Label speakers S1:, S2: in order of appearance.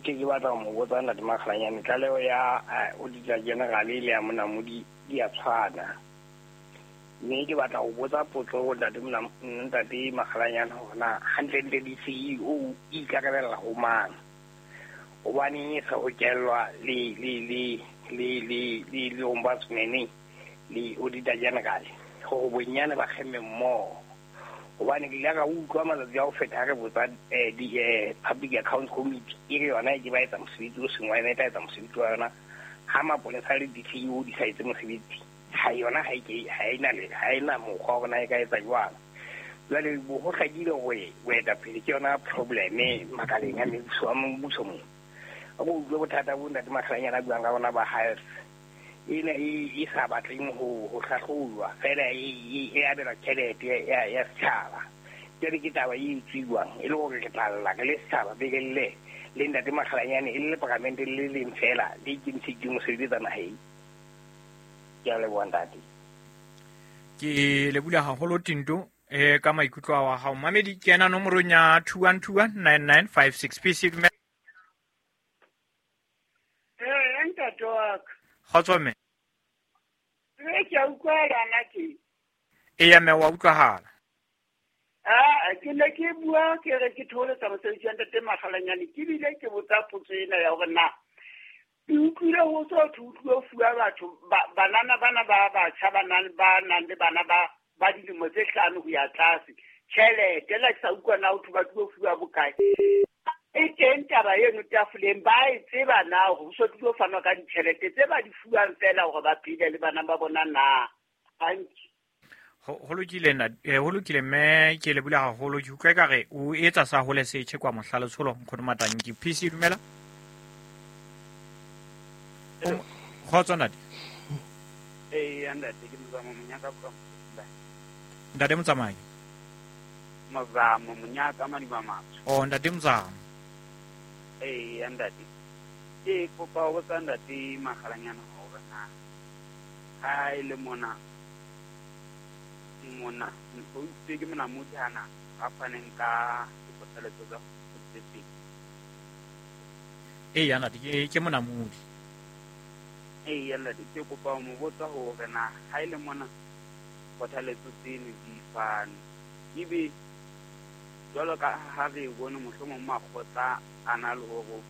S1: Ke batla ho mo botsa Ntate Makgalanyane, tlaleho ya Auditor General le ya Monamodi di a tshwana. Mme ke batla ho botsa potso ho Ntate Makgalanyane hore na hantlentle di-CEO e ikarabella ho mang. Hobaneng e sa hokellwa le ombudsman le Auditor General hore bonyane ba kgemme mmoho. Hobane ke ile ka utlwa matsatsi a ho feta ha re botsa di Public Accounts Committee, e re yona e ke ba etsa mosebetsi o seng wa yona, e tla etsa mosebetsi wa yona ha mapolesa le di-CEO di sa etse mosebetsi. Ha yona ha e ke ha ena mokgwa wa hore na e ka etsa jwang. Jwale bo ho hlakile hore boetapele ke yona problem makaleng a mebuso a mmuso mo. A ko utlwe bothata bo Ntate Makgalanyane a buang ka bona ba health ena e sa batleng ho hlahlojwa fela, e abelwa tjhelete ya setjhaba. Jwale ke taba e etsuwang e le hore re tla lla re le setjhaba be re lle le Ntate Makgalanyane e le leparamente le leng fela le ikemiseditseng ho sebeletsa naheng. Ke a leboha, ntate.
S2: Ke lebula haholo, Tinto, ka maikutlo a wa hao. Mamedi, ke ena nomorong ya 21219956. PC, dumela.
S3: Ee, ntate wa ka.
S2: Kgotso, mme.
S3: Ee, ke a utlwala ke.
S2: Eya mme, wa utlwahala.
S3: Ah, ke ne ke bua ke re ke thoholetsa mosebetsi wa Ntate Makgalanyane, ke bile ke botsa potso ena ya hore na ke utlwile ho so thwe utlwile ho fuwa batho banana bana ba batjha ba nang le bana ba dilemo tse 5 ho ya tlase tjhelete la ke sa utlwa na ho thwe ba tlilo fuwa bokae. E teng taba eno tafoleng, ba e tseba na hore ho so tlilo fanwa ka ditjhelete tse ba di fuwang fela hore ba phele le bana ba bona na? Hantle.
S2: Ho lokile na, ho lokile mme, ke lebula haholo. Ke utlwa ekare o etsa sa hole setjhe kwa mohla letsholo. Nkgono Matanki, PC, dumela. Kgotso, ntate.
S4: Ee, ntate, ke Mozamo Monyaka from
S2: Ntate Motsamai.
S4: Mozamo Monyaka, Madiba Matsho.
S2: Oh, ntate Mozamo.
S4: Ee, ntate, ke kopa ho botsa Ntate Makgalanyana hore na ha e le mona o itse ke Monamodi hana a faneng ka dikgothaletso tsa tse pedi.
S2: Ee ntate, ke Monamodi.
S4: Ee ntate, ke kopa ho mo botsa hore na ha e le mona kgothaletso tseno di fane, ebe jwalo ka ha re bone mohlomong makgotla a na le hore